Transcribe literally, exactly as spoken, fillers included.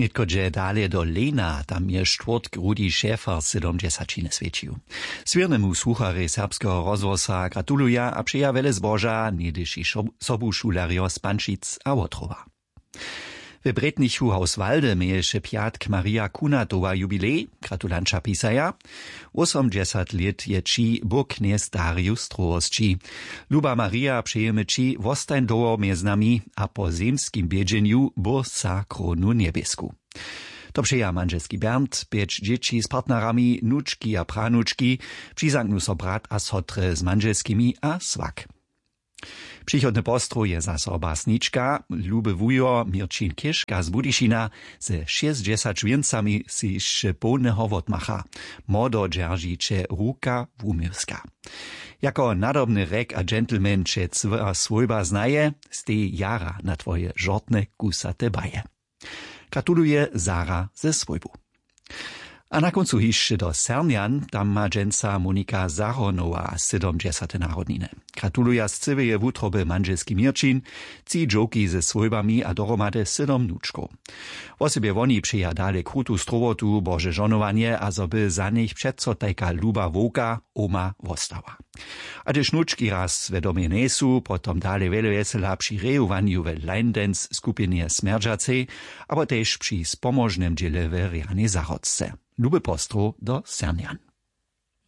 Nětko dźe dale do Lejna, tam je štwórtk Rudi Šefer sydomdźesaćiny swjećił. Swěrnemu słucharjej serbskeho rozhłosa gratuluja a přeja wjele zboža něhdyši sobušulerjo z Pančic a Wotrowa. W Brětnichu Hauswalde měješe pjatk Maria Kunatowa jubilej. Gratulanća pisaja: Wósomdźesat lět je ći, bóh knjez Darius strohosći. Luba Maria, přejemy ći, wostań dołho mjez nami a po zemskim bědźenju bóh sa krónu njebjesku. To přeja mandźelski Bernd, pjeć dźěći z partnerami, nučki a pranučki. Přizaknu so brat a sotre z mandźelskimi a swak. Přichodny postrow je zaso basnička, luby wujo Měrćin Chěžka z Budyšina. Ze šěsćdźesać wěncami sej hišće połneho wotmacha. Młodo dźeržiće ruka wuměłska. Jako nadobny rjek a dźentlmen će cła swójba znaje, stej jara na twoje žortne kusate baje. Gratuluje Sara ze swójbu. A na kóncu hišće do Sernjan. Tam ma dźensa Monika Zahonowa sydomdźesate narodniny. Gratuluja z cyłeje wutroby mandźelski Měrćin, tři dźowki ze swójbami a dohromady sydom wnučkow. Wosebje woni přeja dale krutu strowotu, bože žonowanje a zo by za nich přeco tajka luba wowka oma wostała. A hdyž wnučki raz we domje njejsu, potom dale wjele wjesela při rejowanju we Line Dance skupinje Smjerdźacej abo tež při spomožnym dźěle we rjanej zahrodce. Luby postrow do Sernjan.